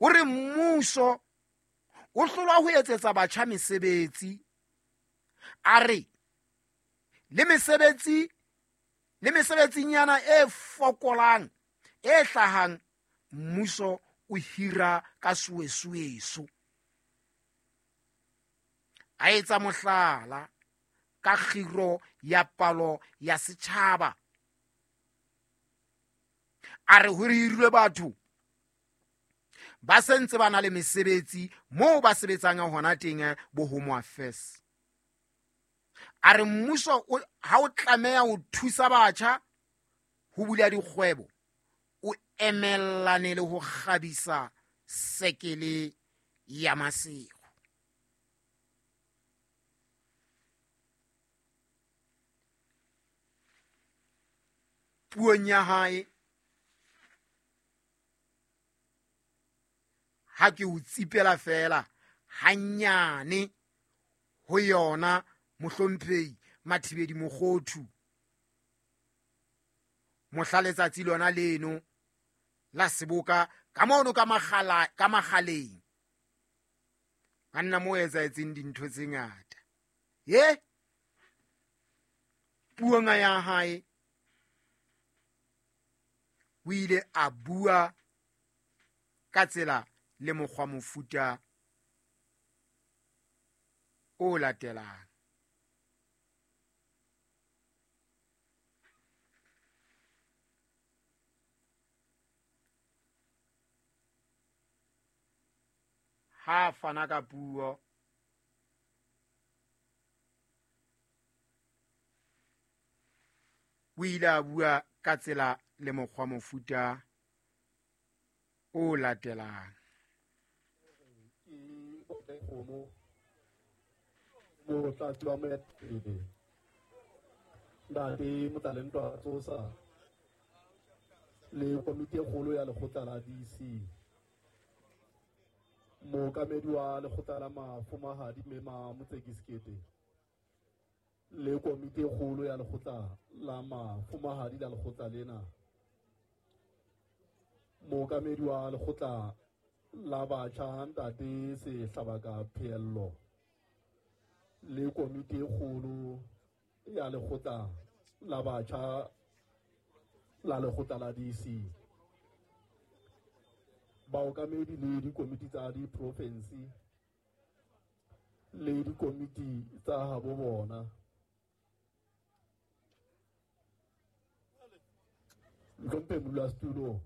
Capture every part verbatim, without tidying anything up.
O re mmuso o hlolwa ho etsetsa batjha mesebetsi. A re le mesebetsi le mesebetsinyana e fokolang e hlahang mmuso o hira ka suesueso. A etsa mohlala ka kgiro ya palo ya setjhaba. A re ho hirilwe batho ba sentse ba na le mesebetsi moo ba sebetsang hona teng bo Home Affairs. A re mmuso ha o tlameha ho thusa batjha ho bula dikgwebo, o emellane le ho kgabisa sekele ya Maseru. Puong ya hae ha ke o tsipela fela hanyane ho yona mohlomphehi Mathibedi Mokhothu mohla letsatsi lona leno la seboka ka mono ka makgala ka makgaleng a nna mo etsahetseng dintho tse ngata. Ye puong ya hae o ile a bua ka tsela le mokgwa mofuta o latelang. Ha fana ka puo o ile a bua ka tsela le mokgwa mofuta o latelang. Motlatsi wa moetapele Ntate Motlalentwa Tsosa le komiti e kgolo ya lekgotla la D C, mookamedi wa lekgotla la mafumahadi Mme Motseki Sekete le komiti e kgolo ya lekgotla la mafumahadi la lekgotla lena, mookamedi wa lekgotla la batjha Ntate Sehlabaka Pheello le komiti e kgolo ya lekgotla la batjha la lekgotla la D C, baokamedi le dikomiti tsa diprofinsi le dikomiti tsa habo bona. Ntlhomphe modulasetulo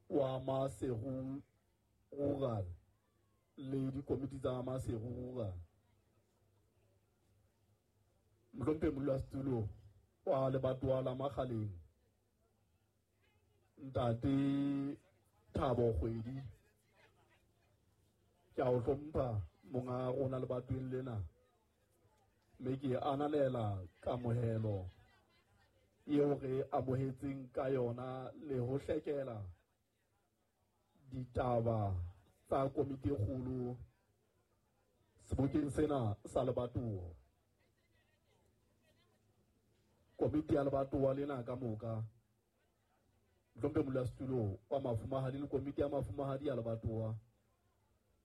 wa Maseru Rural le dikomiti tsa Maseru Rural, Ntlhomphe modulasetulo wa lebatowa la Makgaleng Ntate Thabo Kgwedi, ke a o hlompha monga rona lebatoweng lena, mme ke ananela kamohelo eo re amohetseng ka yona le ho hlekela ditaba tsa komiti e kgolo sebokeng sena sa lebatowa. Komiti ya lebatowa lena ka moka, Ntlhomphe modulasetulo wa mafumahadi le komiti ya mafumahadi ya lebatowa,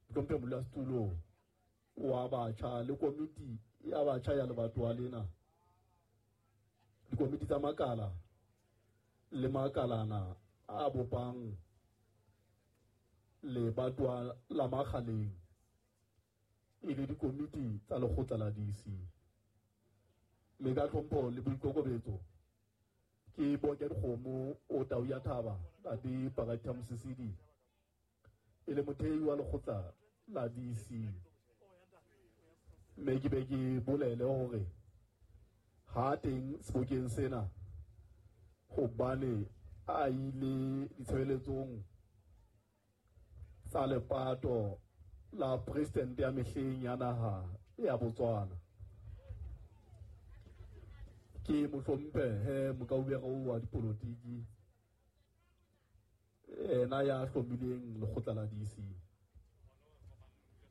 Ntlhomphe modulasetulo wa batjha le komiti ya batjha ya lebatowa lena, dikomiti tsa makala le makalana a bopang lebatowa la Makgaleng e le dikomiti tsa lekgotla la D C. Mme ka tlhompho le boikokobetso ke boke dikgomo o tau ya thaba Ntate Pakatha Mosisili e le mothei wa lekgotla la D C, mme ke be ke bolele hore ha teng sebokeng sena hobane a ile ditshebeletsong tsa lepato la presidente ya mehleng ya naha ya Botswana. Ke mohlomphe he mokaubere wa dipolotiki ena ya hlomileng lekgotla la D C.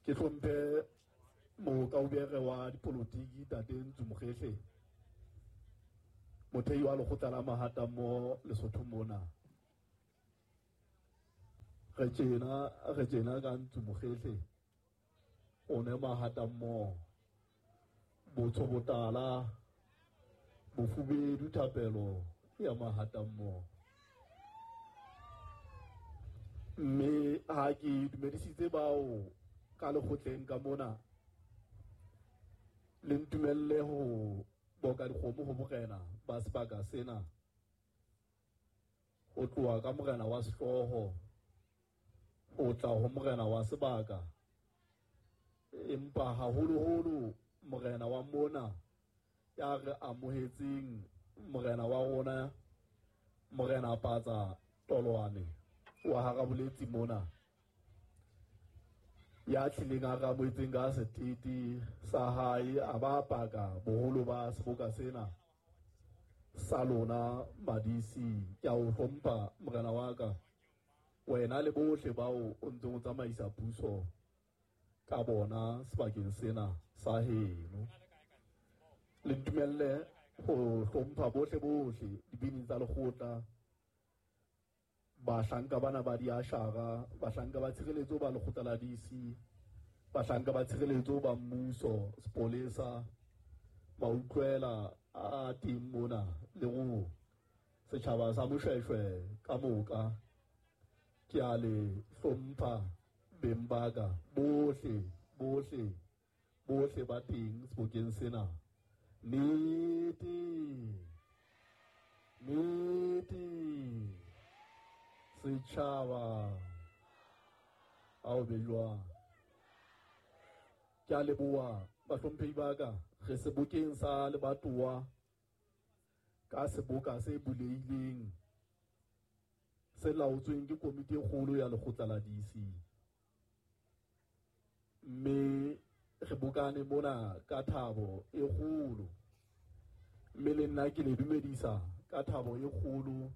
Ke hlomphe mokaubere wa dipolotiki Ntate Ntsu Mokhehle, mothei wa lekgotla la Mahatammoho Lesotho mona. Re tjena re tjena ka ntsu mokgehle o ne mahata mmoho botsho botala bofubedu thapelo ya mahata mmoho. Mme ha ke dumedisitse bao ka lekgotleng ka mona, le ntumelle ho boka dikgomo ho morena ba sebaka sena, ho tloha ka morena wa sehlooho ho tla ho morena wa sebaka, empa haholoholo morena wa mona ya re amohetseng, morena wa rona, morena Patsa Tolwane wa Haraboletsi mona, ya tlileng a re amohetseng ka setete sa hae, a ba paka boholo ba seboka sena sa lona Madisi. Ke a o hlompha morena wa ka, wena le bohle bao o ntseng o tsamaisa puso ka bona sebakeng sena sa heno. Le ntumelle ho hlompha bohle bohle dibini tsa lekgotla, bahlanka bana ba diashara, bahlanka ba tshireletso ba lekgotla la D C, bahlanka ba tshireletso ba mmuso, sepolesa, mautlwela a teng mona le go setjhaba sa Moshweshwe ka moka. Ke a le hlompha beng ba ka bohle bohle bohle ba teng sebokeng sena. Nnete nnete setjhaba ao be jwang. Ke a leboha bahlomphehi ba ka. Re sebokeng sa lebatowa ka seboka se bulehileng se laotsweng ke komiti e kgolo ya lekgotla la D C. Mme re bokane mona ka thabo e kgolo, mme le nna ke le dumedisa ka thabo e kgolo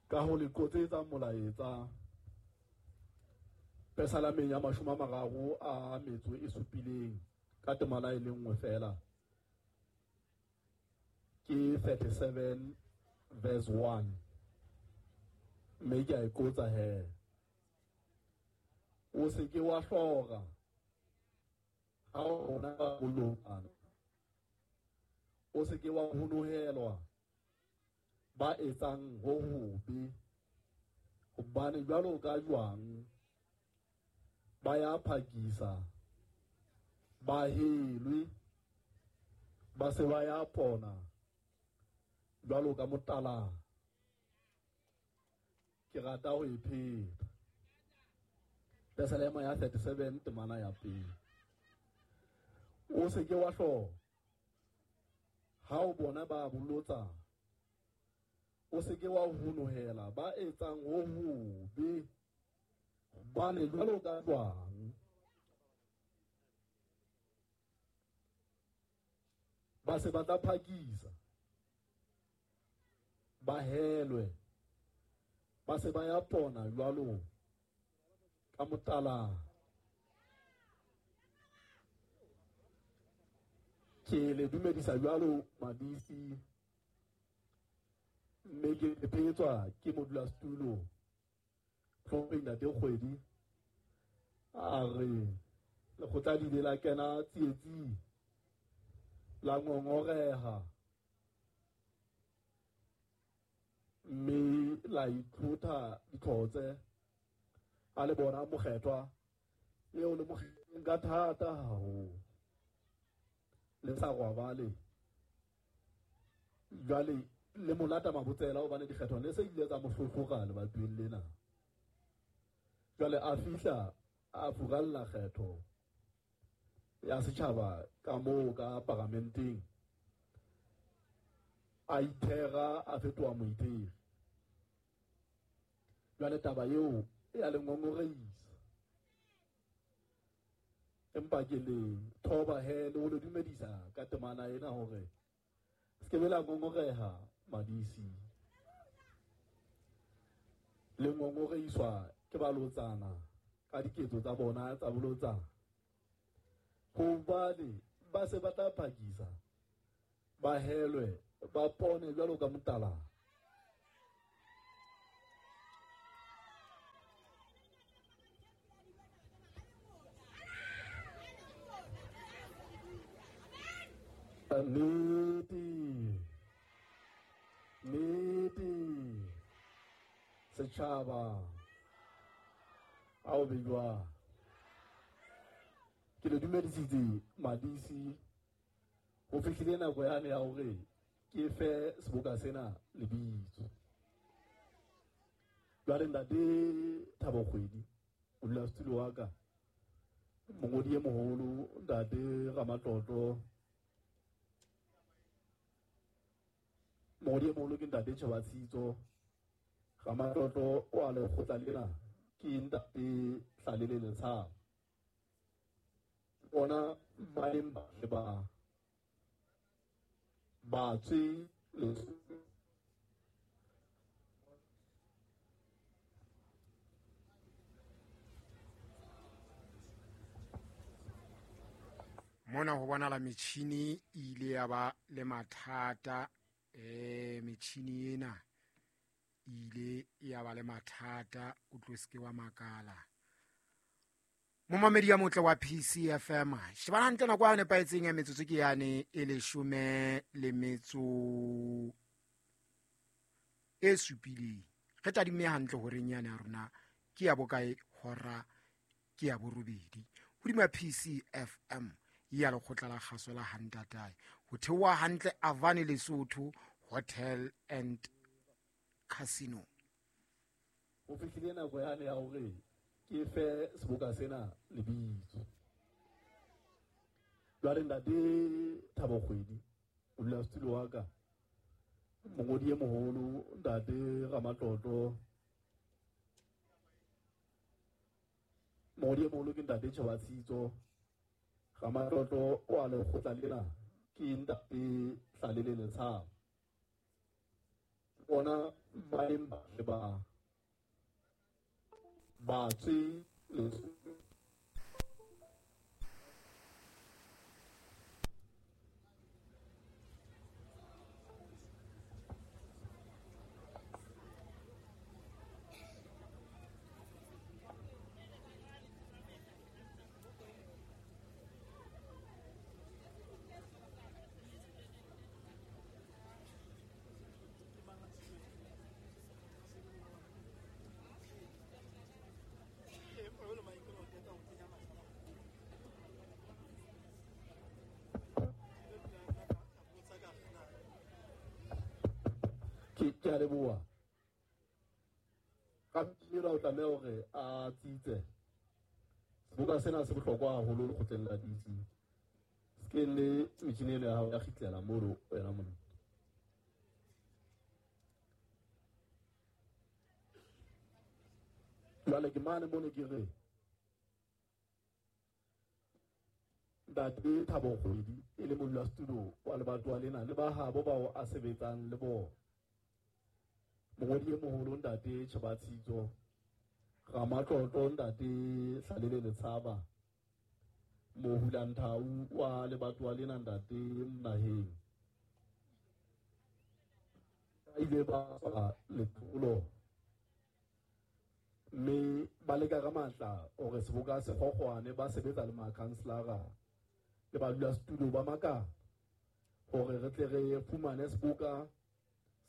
ka ho le qotsetsa molaetsa Pesalameng ya mashome a mararo a metso e supileng ka temana e le nngwe fela, ke thirty-seven verse one. Mme ke a e qotsa he: o se ke wa hlora ha o bona ba bolokana, o se ke wa honohelwa ba etsang ho hobe, hobane jwalo ka jwang ba ya phakisa ba helwe, ba se ba ya pona jwalo ka motala. Ke rata ho e pheta. Pesalema ya thirty-seven temana ya pele. O se ke wa hlora ha o bona ba bolotsa, o se ke wa honohela ba etsang ho hobe, hobane jwalo ka jwang ba se ba tla phakisa ba helwe, ba se ba ya pona jwalo ka motala. Ke le dumedisa jwalo Madisi, mme ke phetswa ke modulasetulo Tlhomphe Ntate Kgwedi, a re lekgotla le ile la kena tsietsing, la ngongoreha, mme la itlhotha ditlhotse a le bona mokgethwa eo le mokgetheng ka thata haholo, le sa robale. Jwale le molata mabotsela hobane dikgetho ne se ile tsa mo hlohloka lebatoweng lena. Jwale a fihla a furalla kgetho ya setjhaba ka moo ka paramenteng, a ithera a fetoha moitheri. Jwale taba eo e a le ngongoreisa, empa ke le thoba he le ho le dumedisa ka temana ena hore se ke be la ngongoreha Madisi. Le ngongoreiswa ke balotsana ka diketso tsa bona tsa bolotsana, hobane ba se ba tla phakisa ba helwe ba pone jwalo ka motala. Nnete, nnete, setjhaba, ao be jwang? Ke le dumedisitse madisi, ho fihlile nako yane ya hore ke fe seboka sena lebitso. Jwale ntate Thabo Kgwedi, modulasetulo wa ka, mongodi e moholo ntate Ramatlotlo, mongodi e moholo ke ntate Tjhebatshitso, Ramatlotlo wa lekgotla lena ke ntate Hlalele Letshaba. Bona ba leng ba ba batswe le mona ho bonala metjhini e ile ya ba le mathata. Eh metjhini ena e ile ya ba le mathata, o tlo seke wa makala. Momamedi ya motle wa P C F M, shebana hantle nako ya nepahetseng ya metsotso ke yane e leshome le metso e supileng. Re tadimme hantle horeng yane ya rona ke ya bokae hora ke ya borobedi hodima P C F M ya lekgotla la kgaso la Hantatae, ho theoha hantle Avani Lesotho Hotel and Casino. Ho fihlile nako yane ya hore ke fe seboka sena lebitso. Jwale ntate Thabo Kgwedi, modulasetulo wa ka, mongodi e moholo ntate Ramatlotlo, mongodi e moholo ke ntate Tjhebatshitso, Ramatlotlo wa lekgotla lena ke ntate Hlalele Letshaba. Bona ba leng ba ba batswe le ke a leboha. Ka mmino o tlameha hore a tsitse. Seboka sena se bohlokwa haholo lekgotleng la D C. Se ke le metjhini eno ya hao ya kgitlela mono wena monna. Jwale ke mane mono ke re ntate Thabo Kgwedi e le modulasetulo wa lebatowa lena le ba habo bao a sebetsang le bona, mongodi e moholo ntate Tjhebatshitso, Ramatlotlo ntate Hlalele Letshaba, Mohulanthau wa lebatowa lena ntate Mnaheng, ba ile ba tswa letolo mme ba leka ka matla hore seboka se kgokgwane, ba sebetsa le makhanselara le badulasetulo ba makala hore re tle re fumane seboka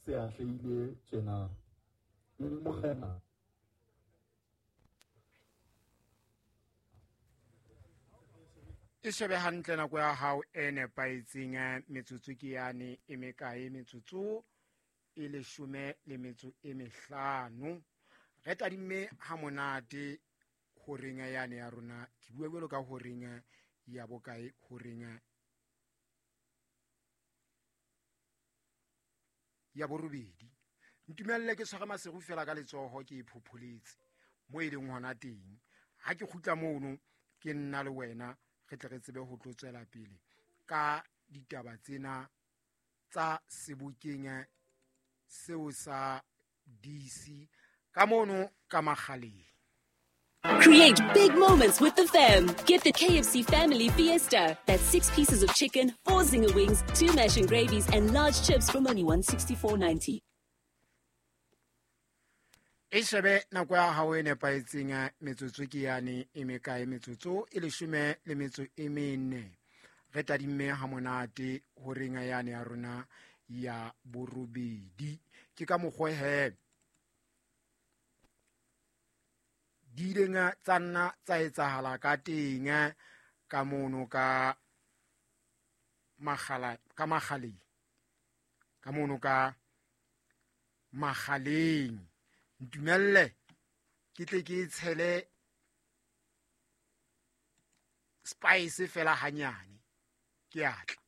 se atlehile tjena. Morena e shebe hantle nako ya hao e nepahetseng, metsotso ke yane e mekae? Metsotso e leshome le metso e mehlano. Re tadimme ha monate horeng yane ya rona, ke bua jwalo ka horeng ya bokae? Horeng ya borobedi. Ntumelle ke tshware Maseru fela ka letsoho ke e phopholetse mo e leng hona teng. Ha ke kgutla mono ke nna le wena re tle re tsebe ho tlo tswela pele ka ditaba tsena tsa sebokeng seo sa D C ka mono ka Makgaleng. Create big moments with the fam. Get the K F C Family Fiesta. That's six pieces of chicken, four zinger wings, two mash and gravies, and large chips from only one sixty-four ninety. E shebe nako ya hao e nepahetseng, metsotso ke yane e mekae? Metsotso e leshome le metso e mene. Re tadimme ha monate horeng yane ya rona ya borobedi. Ke ka mokgwa he di ileng tsa nna tsa etsahala ka teng ka mono ka magala ka magaleng ka mono ka magaleng. Ntumelle ke tle ke tshele spice fela hanyane ke atla.